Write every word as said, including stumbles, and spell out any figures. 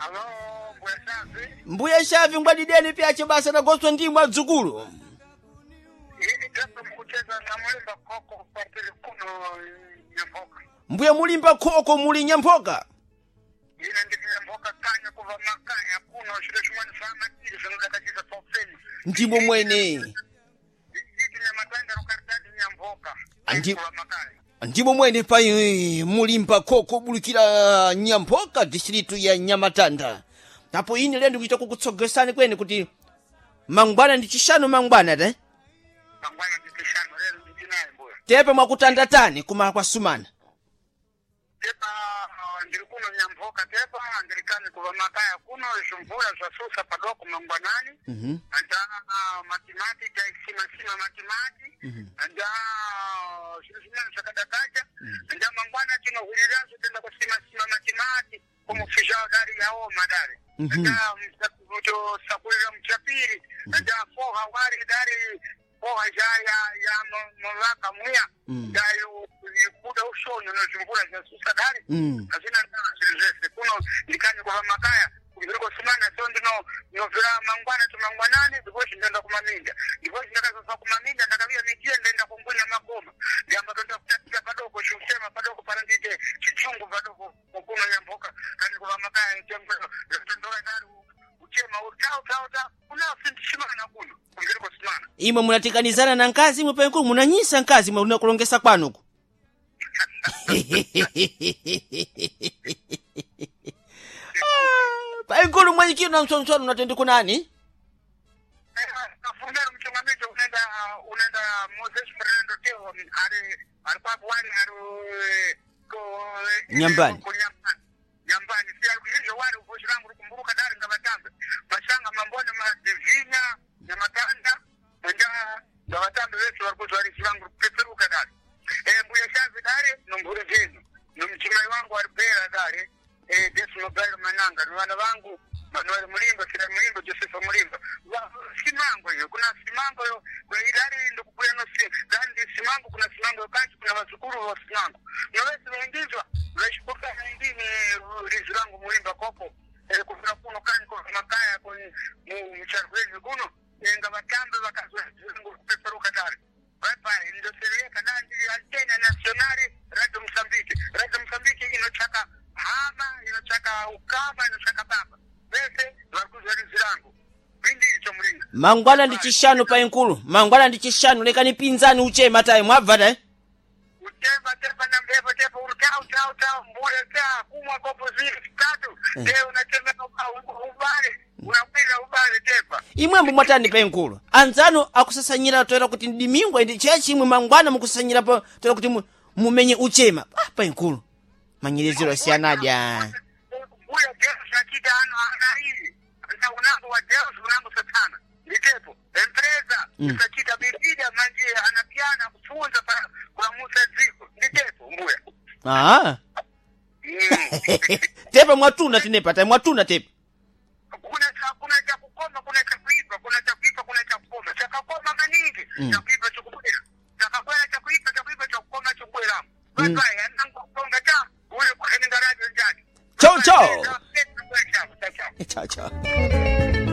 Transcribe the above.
Alo, mbuya Shavi. Mbuya Shavi ngwadideni pyache basa nagoswa ndimwe adzukulu. Ili tepa mkucheza na mulimba koko partiri kuno nyamboka. Mbuya mulimba khoko muli nyamboka. Ine ndiri nyamboka kanya kuva makaya kuno shiro shimwani sama chiri zvinodakachisa paupeni. Ndimo mwene. Iti nyamatanda rukaritati nyamboka. Andi- Kuva makaya. Ndimo mwene pai mulimba khoko bulikira nyamboka distritu ya Nyamatanda. Apo ine lero ndikuchita kukutsogesani kwene kuti mangwana ndi chishanu mangwana te. Mangwana ndichishanu lero ndichinaye mbuya. Tepe mwakutandatani kumala kwa sumana. Tepa uh, ndiri kuno nyamboka tepa ndiri kani kuva makaya kuno zvimvura zvasusa padoko mangwanani. Mhm. Anda matimati taisimasima matimati. Anda zviro zvimweni zvakadakacha. Anda mangwana tinohwirirazvo toenda kusimasima matimati kumufisha dari yaoma dari. Anda tosakurira muchapiri. Anda foha wari dari foha ja ya ya mavaka muya. Dari kuda ushoni nozvimvura zvasusa dari. Mm. Hazvina ndava zviri zvese kuno ndikani kuva makaya ndiri kusumana so ndino ndinobvira mangwana tumangwanani ndipo chindoenda kumaminda ndipo chindakazobva kumaminda ndakaviya migiya ndaenda kungunya makoma ndiyamba toenda kutatira padoko chiusema padoko pana ndiite chichungu padoko kuno nyamboka kani kuva makaya tendora dari uchema utau tau tau unafindishimana kuno ndiri kusumana Imwe munatikanizana na nkazi imwe penkulu munanyisa nkazi imwe munakulongesa kwanuku. Ah, Paikulu mwenyikiro na msonsono unatendi kunani? Afundari mchungamito unaenda unaenda Moses Fernando Teo ari ari kwapo wari ari ko Nyambani. ko nyambani nyambani si ari kuzhinji wari uboshi rangu rukumburuka dari ngavatambe mashanga mambone madivinya nyamatanda nja ngavatambe vese vari kuzwa rishi rangu rukupeperuka dari eh mbuya shazi dari nomhuri dzenu nomuchimai wangu ari bhera dari eh Desimo Gairo Mananga nevana vangu Manuel Mulimba Sira Mulimba Josefa Mulimba Va- Simango iyo kuna Simango yo kuna idari ndokubuya no si dari ndi Simango kuna Simango yokachi kuna vazukuru va Simango novese vaindizwa vachikuka indini rizwi rangu Mulimba koko eh, kuvira kuno kanyi ko makaya ko mucharwezi kuno eh, ngavatambe vakazwa rizwi rangu kupeperuka dari bye ndosereka nandi antena nationale radio Mozambique radio Mozambique inochaka hama inochaka ukama inochaka baba vese vari kuzwa rizwi rangu bindiri chomuringa Mangwana ndi chishanu painkulu. Mangwana ndi chishanu lekani pinzani uchema tayi mwabva tayi. utemba tepa na mbepo tepa uri tau tau tau mbure ta kumwa kopo zili tatu te unachemeka ubale unakwira ubale tepa Imwembo mwatani painkulu. Anzanu akusasanyira toera kuti ndimingwa ndi chechi imwe mangwana mukusasanyira pa toera kuti mu- mumenye uchema. Ah painkulu. Manyerezero asiyanadi ah. mbuya Deus achita ano anaili na unango wa Deus unango satana nditepo empresa Mm. isachita bibida manje anapiana kufunza pa kwa Musa dziko nditepo mbuya Ah. mm. Tepa mwatuna tinepa tayi mwatuna tepa. kuna cha kuna cha kukoma kuna cha kuipa kuna cha kuipa kuna cha kukoma chakakoma maningi Mm. cha kuipa chikubwera chakakwera cha kuipa cha kuipa cha kukoma chikubwera Mm. bye bye anango konga cha ule kwa ningarajo njani Chau, chau. Chau, chau. Chao chao.